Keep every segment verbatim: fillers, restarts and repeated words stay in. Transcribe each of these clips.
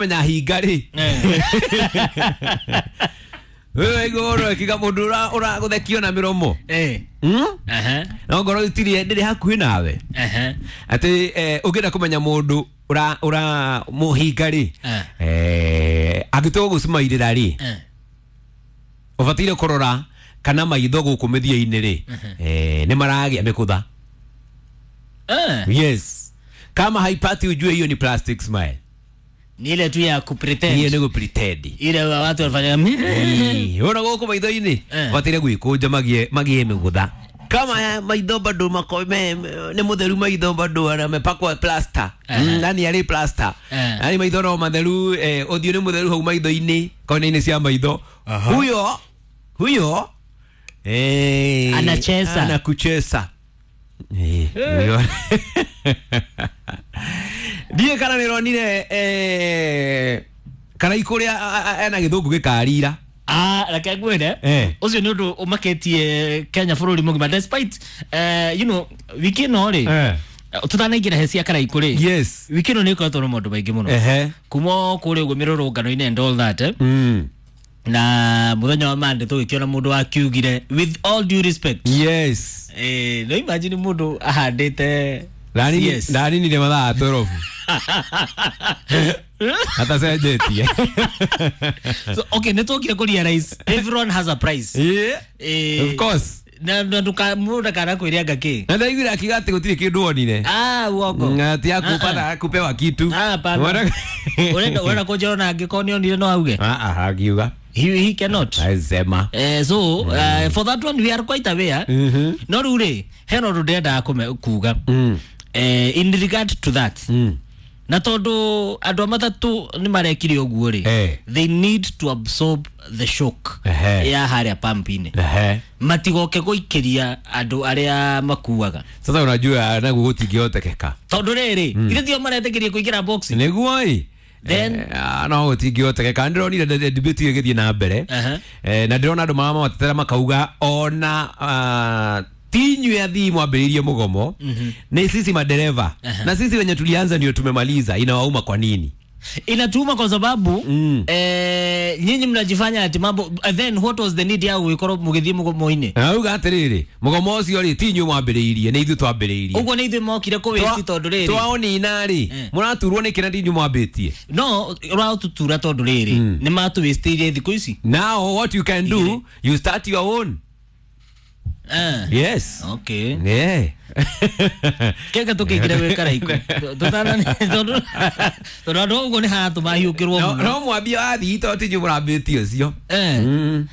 Kũmenya hinga rĩ, wewe igũrũ kiga mũndũ ũragũthekio na mĩromo. Eh. Mm? Aha. No ngoro itirĩ ndĩrĩ hakuhĩ nawe. Aha. Atĩ eh, ũngĩenda kũmenya mũndũ ũra ũra mũhinga rĩ, Eh. eh, angĩtua gũgũcumairĩra rĩ, Eh. ũbataire kũrora kana maitho gũkũ mĩthia-inĩ rĩ, eh, nĩ maragĩa mĩkũtha. Eh. Yes, kama haipati ujue hiyo ni plastic smile. Ni ile tu ya kupretend. Hiyo nĩ gũpretend. Ile watu wanafanya. Ĩĩ, wona gũkũ maitho-inĩ Eh. ũbataire gwĩkũnja magie magie mĩgũtha kama ya maitho bado mako me, nĩ mũtheru maitho bado amepakwa plaster. Aha. Mm, nani arĩ plaster. Eh. Yani maitho no matheru, eh, ũthiũ nĩ mũtheru hau maitho-inĩ, kona-inĩ cia maitho huyo huyo, eh, Anacheza. anakucheza. Eh, huyo. Ndiĩ kana nĩronire eh, Karaikũ ũrĩa a- a- ena gĩthũngũ gĩkarira. Ah, reke ngwĩre. Eh. Ũcio nĩ ũndũ ũmakĩtie Kenya bũrũri mũgima despite eh, you know wiki ĩno rĩ, Eh. tutanaingĩra he cia Karaikũ rĩ, Yes. wiki ĩno nĩ ĩkoretwo na maũndũ maingĩ mũno Ehe. kuma kũrĩa ũguo mĩrũrũngano-inĩ and all that, eh? Mm. Na mũthenya wa Monday tũgĩkĩona mũndũ wakiugire with all due respect. Yes. Eh, no imagine mũndũ ahandĩte Ndaninire C S. Ndaninire mathaa twelve atacenjetie. So, okay, nĩ twokire kũ realize everyone has a price. Yeah. Eh, Of course. Na na nduka mũndũ ndakana kwĩre anga kĩ. Na ndaiguire akiuga atĩ gũtirĩ kĩndũ onire. Ah, uongo. Ati akupata akupewa kitu. Ah, hapana. Wana- Urenda urenda kũnjĩra ona angĩkorwo nĩ onire no auge. Ah, ah, akiuga. He, he cannot. Aisema. Eh, so uh, for that one we are quite aware. Mhm. No rĩu rĩ, hena ũndũ ndĩrendaga kũme- kuga Mm. eh, in regard to that, Mm. na tondũ andũ a matatũ nĩ marekire ũguo rĩ, Eh. they need to absorb the shock Ehe. ya harĩa pump-inĩ, Ehe. matigoke gũikĩria andũ arĩa makuaga. Sasa unajua naguo gũtingĩhotekeka. Tondũ rĩrĩ, ithe tio maretĩkĩria kũingĩra box. Nĩguo ĩ. Then- Eh, ah, no gũtingĩhotekeka. Ndĩronire de- debate ĩyo ĩgĩthiĩ na mbere. Aha. Eh, na ndĩrona andũ maramatetera makauga ona ah, ti inyuĩ athii mwambĩrĩirie mũgomo, ni sisi madereva na sisi wenye tulianza ndio tumemaliza. Inawauma kwa nini? Inatuma kwa sababu Mm. eh, nyinyi mnajifanya ati mambo, eh, then what was the need ya gũgĩkorwo mũgĩthiĩ mũgomo-inĩ? Auga atĩrĩrĩ, mũgomo ũcio rĩ, ti inyuĩ mwambĩrĩirie, nĩ ithuĩ twambĩrĩirie. Ũguo nĩ ithuĩ mokire kũwĩti tondũ rĩrĩ Twaonina rĩ, Eh. mũraturwo nĩkĩ na ti inyuĩ mwambĩtie? No ũratũtura tondũ rĩrĩ nĩ matũwĩstĩirie thikũ ici. Now what you can do, you start your own. Eh. Yes. Okay. Yeah. Keke tũkĩingĩre gwĩ Karaikũ tũtana tondũ tondũ andũ ũguo nĩ haratũma hiũkĩrwo no mũno. No mwambia wathii to ti inyuĩ mũrambĩtie ũcio. Eh. Mm.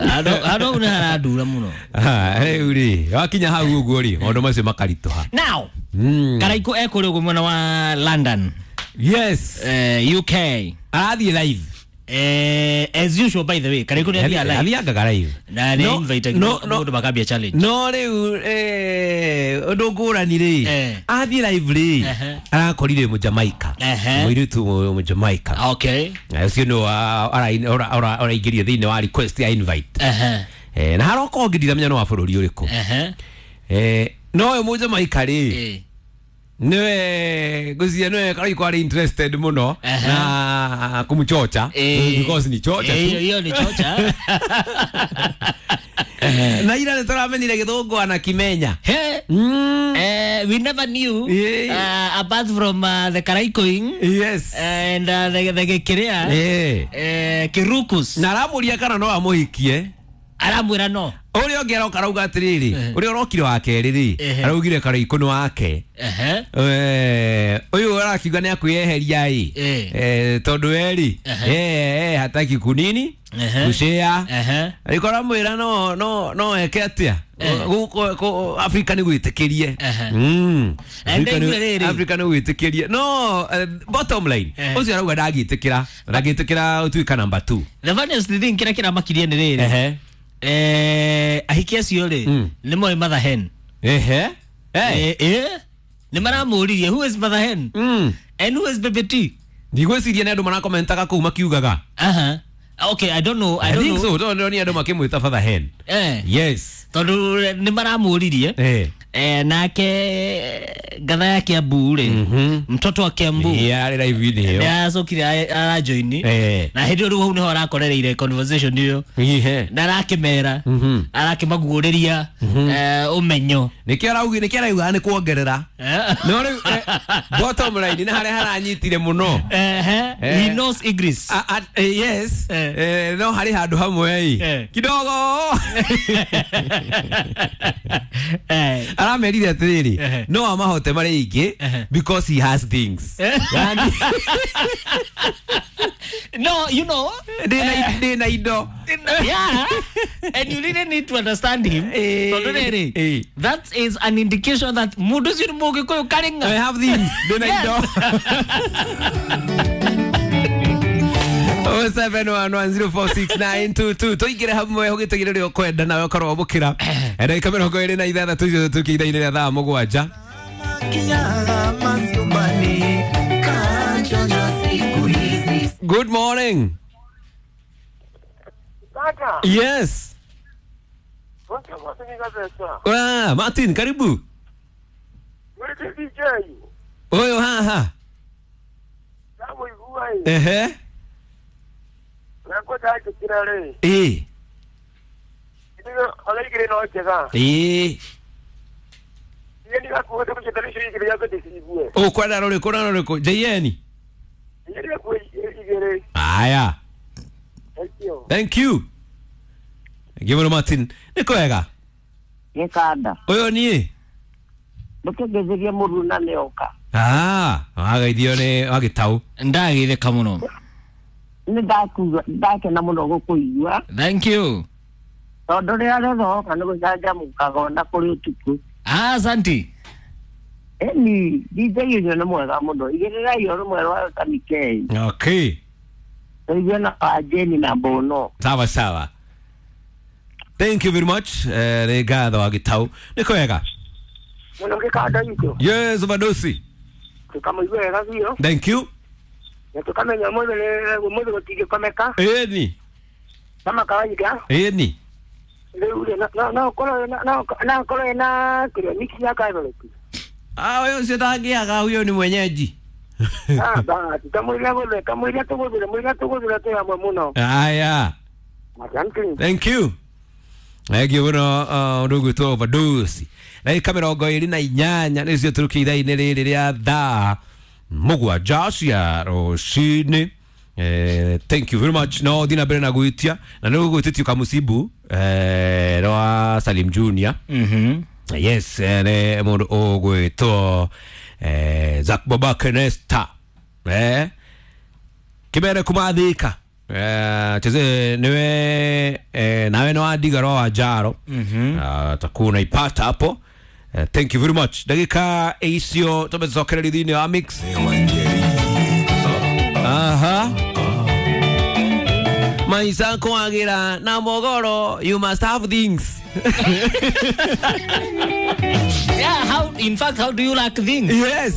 Handũ handũ hau nĩ harandura mũno. Ah, rĩu rĩ, wakinya hau ũguo rĩ, maũndũ macio makaritũha. Now Mm. Karaikũ ekũrĩa ũguo mwena wa London, Yes. eh, U K. Arathiĩ live. Eh, as usual, by the way, Karaikũ nĩ athiaga live. Athiangaga live. Na nĩ No, invite no, no. mũndũ makambia challenge. No rĩu eh, ũndũ ngũrani rĩ, Eh. athiĩ live rĩ, Ehe. arakorire mũjamaika, Ehe. mũirĩtu mũjamaika. Okay. Ũcio nĩ ũraingĩrio thĩinĩ wa request ya invite. Ehe. Eh, na haroka ũngĩ ndiramenya nĩ wa bũrũri ũrĩkũ. Ehe. Eh, no ũyũ mũjamaika rĩ, Eh. niwe ngwĩciria niwe Karaikũ arĩ interested mũno Ehe. na kũmũchocha, Eh. because ni chocha Eh, tu. hiyo ni chocha. Na ira nĩ tũramenyire gĩthũngũ anakimenya. He. Mm. Eh, we never knew, Yeah. uh, apart from uh, the Karaikoing yes and uh, the, the Gekirea, Eh. eh, Kirukus. Na aramũria kana no amũhikie. Aramwĩra no. Ũrĩa ũngĩ aroka arauga atĩrĩrĩ, Eh. ũrĩa ũrokire wa kerĩ rĩ, Ehe. araugire Karaikũ nĩ wake. Ehe. Eh, ũyũ arakiuga nĩ akwĩyeheria ĩ, Eh. Eh, tondũ we rĩ, Ehe. eh, eh, hataki kunini Ehe. kushare. Ehe. Arĩko aramwĩra no no no eke atĩa. Eh. Gũkũ kũ- Afrika nĩ gwĩtĩkĩrie. Ehe. Mm. And Afrika nĩ- ndaigua rĩrĩ. Afrika nĩ gwĩtĩkĩrie no eh, bottom line, Eh. ũcio arauga ndangĩtĩkĩra ndangĩtĩkĩra ũtuĩka number two. The funniest thing kĩrĩa kĩramakirie nĩ rĩrĩ, Ehe. eh, ahiki acio rĩ, Mm. nĩ moĩ mother hen. Ehe. Eh. Eh, eh, nĩ maramũririe who is mother hen Mm. and who is baby T. Ndigwĩciria nĩ andũ marakomentaga kũu makiugaga. Aha. Okay, I don't know. I I don't think know. so, tondũ ndĩronire andũ makĩmwĩta father hen. Eh. Yes. Tondũ nĩ maramũririe Eh. Eh, nake ngatha ya Kiambu rĩ, mtoto wa Kiambu yarĩ live-inĩ ĩyo. Nĩ aracokire arajoini Eh. na hĩndĩ ĩyo rĩu hau nĩho arakorereire conversation ĩyo Ihe. na arakĩmera, Mhm. arakĩmaguũrĩria eh, ũmenyo. Nĩkĩo araugi, nĩkĩo arauga nĩ kuongerera. Eh. No rĩu eh, bottom line nĩ harĩa haranyitire mũno. Ehe, Eh. he knows English. A- a- eh, yes. Eh. Eh, no harĩ handũ hamwe ĩ Eh. kidogo Eh. aramerire atĩrĩrĩ, Ehe. no amahote marĩ aingĩ Ehe. because he has things. Eh. Yani, No, you know, ndĩna ndĩna indo. Yeah, and you really need to understand him. Eh. Tondũ rĩrĩ, Eh. that is an indication that mũndũ ũcio nĩ mũgĩkũyũ karĩng'a. I have things, ndĩna Yes. indo. oh seven one one zero four six nine two two, tũingĩre hamwe ũgĩtũgĩre ũrĩa ũkwenda nawe ũkorwo wamũkĩra ndagĩka mĩrongo ĩrĩ na ithathatũ icio tũkĩ ithaa-inĩ rĩa thaa mũgwanja. Good morning. Kaka, Yes. wacha mwasinga pesa. Ah, Martin, karibu. Mwete D J. Ũyũ haha. Samu igua hii. Ehe. Nako taje kirare. Ĩ. Ndiyo alaigire no chega. Ĩ. Ndiyo ndikakuwa kuchetanisha igire yako disigue. Ũkwenda rũrĩkũ na rũrĩkũ J N? Ndiyo ndikakuwa igire. Aya. Thank you. Thank you. Thank you mũno, Martin. Nĩ kwega. Gĩkanda. Ũyũ niĩ. Ndũkĩngeithĩrie mũruna nĩoka. Ah, wagaithio nĩ wagĩtau. Ndagĩtheka mũno. Nĩ ndakuga ndakena mũno gũkũigua. Thank you. Tondũ rĩrĩa rĩothe woka nĩ gũcanjamũkaga ona kũrĩ ũtukũ. Ah, asante. Ĩni D J ũcio nĩ mwega mũno, igĩrĩrai o rũmwe rwa Tamikei. Okay. Tũigue na Wajeni na Mbono. Sawa sawa. Thank you very much. Eh, nĩ ngatho wagĩtau. Nĩ kwega. Muno gikanda ito. Yes, Badosi. Tukamuigua wega biũ. Thank you. Na tukamenya mũthĩ mũthĩ gũtingĩkomeka. Ĩni. Kama kawaida. Ĩni. Rĩu rĩ no no korwo no no korwo na kĩrĩa mix ya Catholic. Ah, ũyũ ũcio ndangĩaga, huyo ni mwenyeji. Ah, basi kamũira gũthĩ kamũira tũgũthire mũira tũgũthire twĩ hamwe mũno. Aya. Asante. Thank you. Thank you mũno ũndũ ũgwĩtwo Overdose. Ndagĩka mĩrongo ĩrĩ na inyanya nĩcio tũrũkĩ ithaa-inĩ rĩrĩ rĩa thaa mũgwanja cia rũcinĩ. Eh, thank you very much. No thiĩ na mbere na gwĩtia na nĩ ũgwĩtĩtio kamucibu eh, rwa Salim Junior. Mhm. Yes, eh, nĩ mũndũ ũgwĩtwo eh, Zack Baba Kenesta eh, kĩmere kumathĩka eh, cheze niwe eh, nawe no wandiga ro wa njaro. mm -hmm. Takuwa unaipata hapo. eh, thank you very much. Ndagĩka icio tũmecokereria thĩinĩ wa mix. Aha, maisa kwagira na mogoro, you must have things. Yeah, how in fact, how do you like things? Yes.